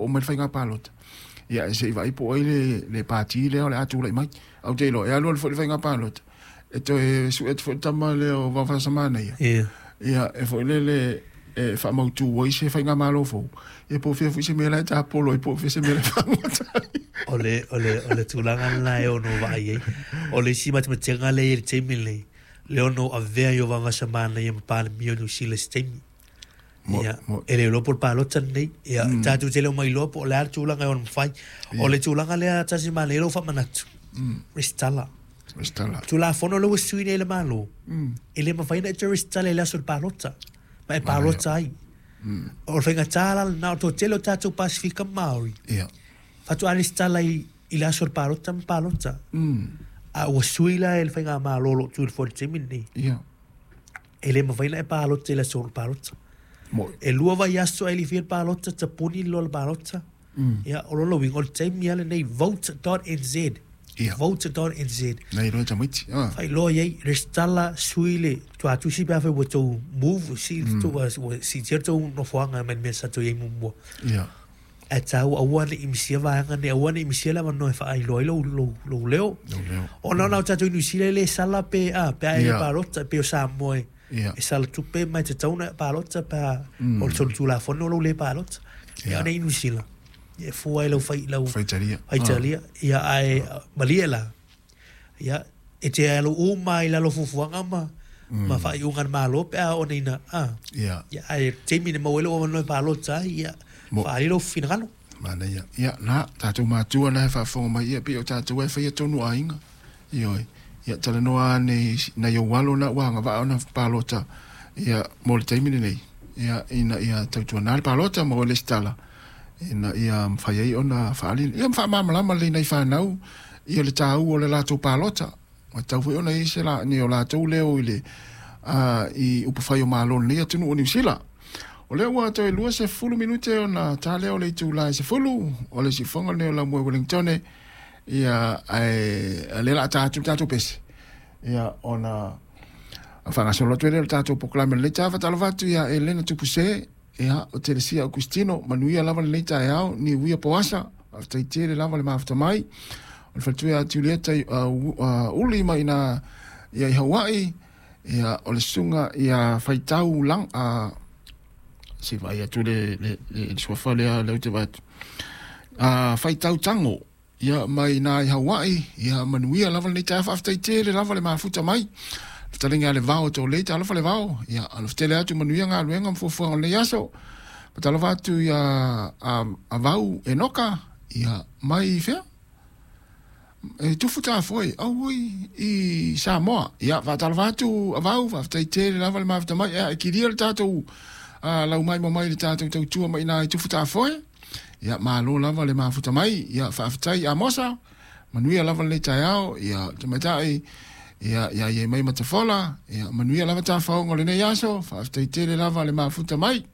oo mai le faiga palota, ia e se i vaai po o ai le pati lea o le a tulai mai. Ae ou te iloa e alu alu foi le faiga palota, e toe sue atu foi le tama lea o Vaovasamanaia, ia e foi lele e faamautu ai se faigamalo fou, ia po o fea foi se mea la e tapolo ai, po o fea se mea la e fagota ai. O le, o le, o le tulaga lena e ono vaai ai. O le isi matematega lea e i ai i le taimi lenei, le ono avea ai o Vaovasamanaia ma Palemia o Niu Sila i se taimi. Ia, e le iloa po o le palota lenei. Ia, tatou te le o mailoa po o le a le tulaga e ono mafai. O le tulaga lea tasi manaia lou faamanatu, resitala. Resitala. Tulafono lea ua sui nei e le Malo, e le mafai ona e toe resitala i le aso o le palota, ma e palota ai. O le faigata la lena, o le toatele o tatou Pasefika ma Māori, faatoa resitala i le aso o le palota ma palota. A ua sui la e le Faigamalo o lo o tu i le foe i le taimi lenei. E le mafai ona e palota i le aso o le palota. E lua vaiaso ae le i faia le palota, tapuni loa le palota. Ia, o lona uiga, o le taimi lava lenei, vote.nz. Vote.nz. Nai loa tamaiti. Faailoa i ai, resitala, sui le tuatusi pe afai ua tou move, ua siitia le tou nofoaga mai le mea sa tou i ai muamua. Ae taua aua ne i misia vaega nei, aua ne i misia le avanoa e faailoa ai lou, lou, lou leo. Lou leo. Ona ona o tatou i Niu Sila e le sala pe, a, pe a e le palota, pei o Samoa e, e sala tupe ma e tatau ona palota pe a, o le solitulafono lou le palota. Ia ona i Niu Sila, e fua i lau fai, lau Faitalia. Faitalia. Ia ae malie la, ia, e te alu uma i lalo o fuafuaga ma, ma faaiuga a le Malo pe a oo nei ina, a. Ia, ae taimi na maua ai lou avanoa e palota ai, ia, faaali lou finagalo. Manaia. Ia, na, tatou matua na e faafofoga mai, ia, pei o tatou e faia tonu aiga. Ioe. Ia, talanoa ane i nai ou alo na ua agavaa ona palota, ia, mo le taimi lenei, ia, ina ia tautuana le palota ma oe lesitala, ina ia mafai ai ona faaali, ia ma faamalamalama lelei i nai fanau, ia le taua o le latou palota. Ua tatau foi ona i ai se la, ni o latou leo i le, i upufai o Malo o lenei atunuu o Niu Sila. O lea ua toe 20 minute ona ta lea o le itula e 10, o le siufofoga lenei o Laumua i Wellingtone, ia, ae o lea o le a ta atu le tatou pese, ia, ona faagasolo atu ai lea o le tatou polokalame o lenei taeao. Faatalofa atu ia Elena Tupuse, ia, o Telesia Augustino, manuia lava lenei taeao, niuia poasa, faafetai tele lava le mafuta mai. O le faletua ia Julieta Uli mai ina ia i Hawaii, ia, o le susuga ia Faitau Lang, se i vaai atu le, le, le, le suafa lea, lea ou te vaai atu. Faitau Tango, Ia, mai ina i Hawaii, ia manuia lava lenei taeao, faafetai tele lava le mafuta mai. Le fetalaiga ia Levao Tolei, talofa Levao, ia alofa tele atu, manuia galuega ma fuafuaga o lenei aso. Faatalofa atu ia a Vau Enoka, ia mai fea? E tufu tafoe, auoi, i Samoa. Ia, faatalofa atu Avau, faafetai tele lava le mafuta mai. Ia, e kilia le tatou laumaimo mai le tatou tautua mai ina i tufu tafoe. Ia, malo lava le mafuta mai. Ia, faafetai Amosa, manuia lava lenei taeao. Ia, tamaitai, ia, ia iai mai Matafola. Ia, manuia lava tafaoga o lenei aso. Faafetai tele lava le mafuta mai.